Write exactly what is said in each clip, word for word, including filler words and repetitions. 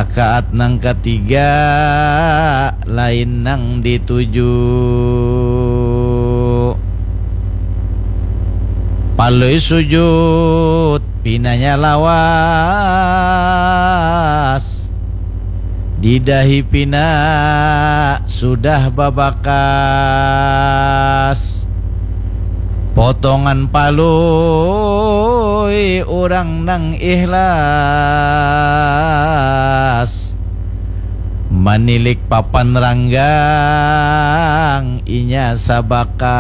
Rakaat nang katiga lain nang dituju. Palui sujud, pinanya lawas. Didahi pina sudah babakas. Potongan palui urang nang ikhlas. Manilik papan ranggang inya sabakas.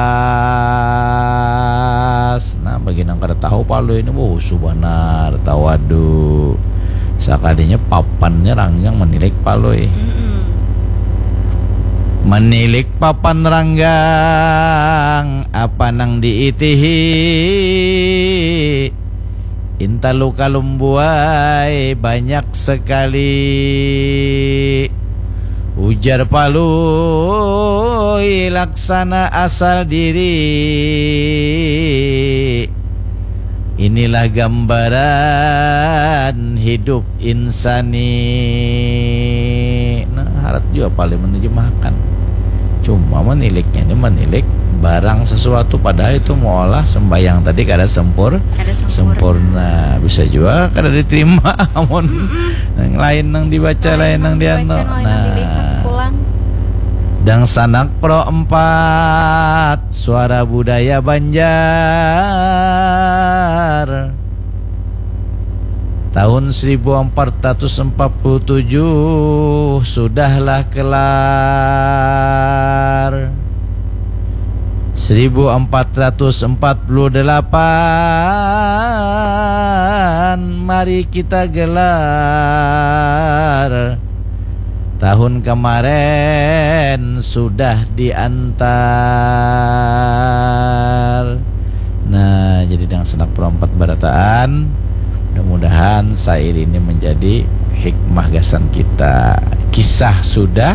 Nah, bagi nang kada tahu palui ini, wuh, husu banar, tawadu. Sakalinya papannya ranggang manilik palui. Mm-mm. Manilik papan ranggang, apa nang diitihi? Intalu kalumbuai banyak sekali. Ujar palui laksana asal diri. Inilah gambaran hidup insani. Nah, harat jua palui menerjemahkan. Cuma maniliknya ini manilik barang sesuatu, padahal itu meolah sembahyang tadi kada sempur-, kada sempurna. Sempurna. Bisa jua kada diterima amun nang lain nang dibaca, lain nang dianu. Nah. Dangsanak Pro empat, Suara Budaya Banjar. Tahun seribu empat ratus empat puluh tujuh sudahlah kelar. Seribu empat ratus empat puluh delapan, mari kita gelar. Tahun kemarin sudah diantar. Nah, jadi dangsanak Pro empat barataan. Mudah-mudahan sair ini menjadi hikmah gasan kita. Kisah sudah,